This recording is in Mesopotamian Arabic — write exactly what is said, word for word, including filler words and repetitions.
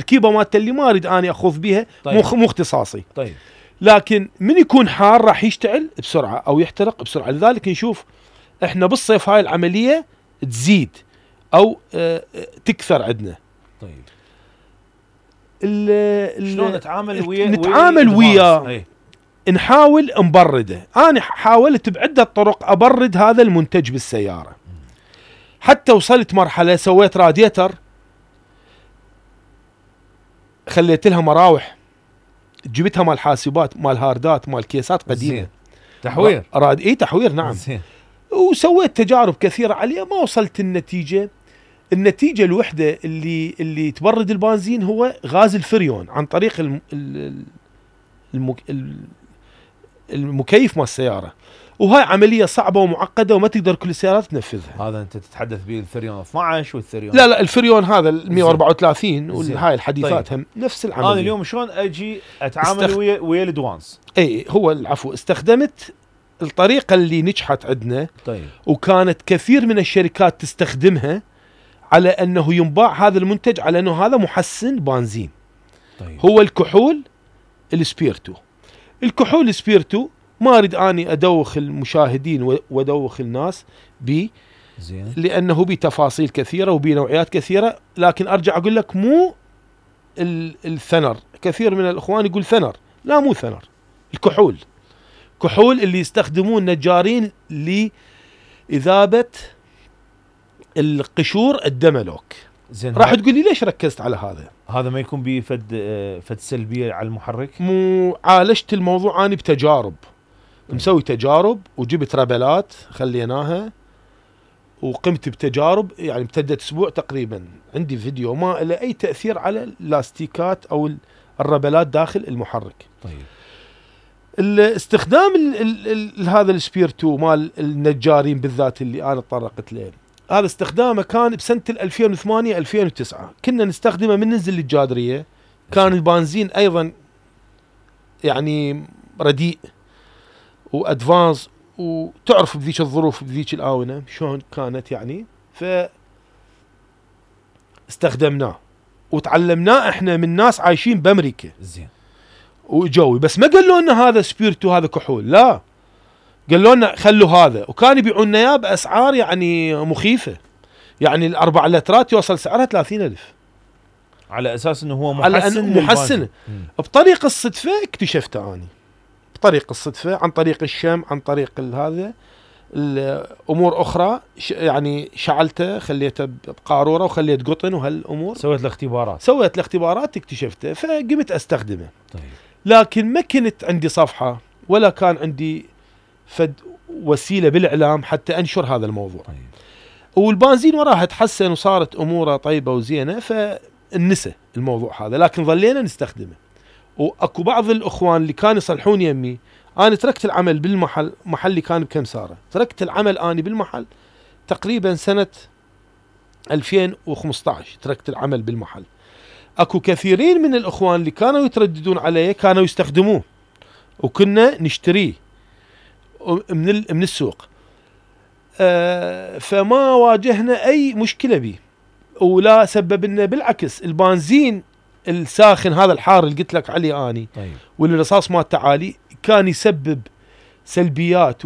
التركيبه مالته اللي ما اريد اني اخوض بيها. طيب. مو مو اختصاصي. طيب. لكن من يكون حار راح يشتعل بسرعه او يحترق بسرعه، لذلك نشوف احنا بالصيف هاي العمليه تزيد او اه تكثر عندنا. طيب. ال شلون نتعامل ويا نتعامل وياه؟ نحاول نبرده. انا حاولت بعده طرق ابرد هذا المنتج بالسياره، حتى وصلت مرحله سويت راديتر، خليت لها مراوح، جبتها مال حاسبات، مال هاردات، مال كيسات قديمه. زين. تحوير. راد اي تحوير نعم. زين. وسويت تجارب كثيره عليه، ما وصلت النتيجه. النتيجه الوحده اللي اللي تبرد البنزين هو غاز الفريون عن طريق الم الم المكيف مال السياره، وهاي عمليه صعبه ومعقده وما تقدر كل السيارات تنفذها. هذا انت تتحدث به الفريون اثناشر والفريون لا لا الفريون هذا ال مئة وأربعة وثلاثين والهاي الحديثات. طيب. هم نفس العمليه. انا اليوم شلون اجي اتعامل استخ... ويا ويا الادوانس؟ اي هو العفو، استخدمت الطريقه اللي نجحت عندنا. طيب. وكانت كثير من الشركات تستخدمها على انه ينباع هذا المنتج على انه هذا محسن بنزين. طيب. هو الكحول السبيرتو. الكحول السبيرتو ما اريد اني ادوخ المشاهدين وادوخ الناس بي، زين، لانه بي تفاصيل كثيره وبي نوعيات كثيره، لكن ارجع اقول لك مو الثنر. كثير من الاخوان يقول ثنر، لا مو ثنر، الكحول. كحول اللي يستخدمون نجارين لاذابه القشور الدملوك. زين. راح تقول لي ليش ركزت على هذا؟ هذا ما يكون به فد فد سلبيه على المحرك؟ مو عالجت الموضوع اني بتجارب. مسوي تجارب وجبت ربلات خليناها وقمت بتجارب، يعني امتدت اسبوع تقريبا. عندي فيديو ما له اي تاثير على اللاستيكات او الربلات داخل المحرك. طيب. الاستخدام ال ال ال هذا السبيرتو مال النجارين بالذات اللي انا تطرقت له، هذا استخدامه كان بسنه ألفين وثمانية ألفين وتسعة. كنا نستخدمه من ننزل للجادريه. كان البنزين ايضا يعني رديء وادفانس، وتعرف بذيك الظروف بذيك الاونه شلون كانت يعني. ف استخدمناه وتعلمناه احنا من ناس عايشين بامريكا. زين. وجوي بس ما قالوا لنا هذا سبيرتو هذا كحول، لا قالوا لنا خلوا هذا، وكان يبيعون اياه باسعار يعني مخيفه. يعني الاربع لترات يوصل سعرها ثلاثين ألف على اساس انه هو محسن. على أنه محسن. بطريقه الصدفه اكتشفته اني، بطريقه الصدفه، عن طريق الشم، عن طريق هذا الامور اخرى. يعني شعلته، خليته بقاروره وخليت قطن وهالامور. سويت الاختبارات سويت الاختبارات اكتشفته، فقمت استخدمه. طيب. لكن ما كنت عندي صفحه ولا كان عندي فد وسيله بالاعلام حتى انشر هذا الموضوع. طيب. والبنزين وراها تحسن وصارت اموره طيبه وزينه، فنسى الموضوع هذا، لكن ظلينا نستخدمه. واكو بعض الاخوان اللي كانوا يصلحون يمي. انا تركت العمل بالمحل، محلي كان بكمساره، تركت العمل اني بالمحل تقريبا سنه ألفين وخمسة عشر. تركت العمل بالمحل. اكو كثيرين من الاخوان اللي كانوا يترددون علي كانوا يستخدموه، وكنا نشتريه من من السوق. آه فما واجهنا اي مشكله به، ولا سبب لنا، بالعكس البنزين الساخن هذا الحار اللي قلت لك عليه اني. طيب. والرصاص مالته عالي، كان يسبب سلبيات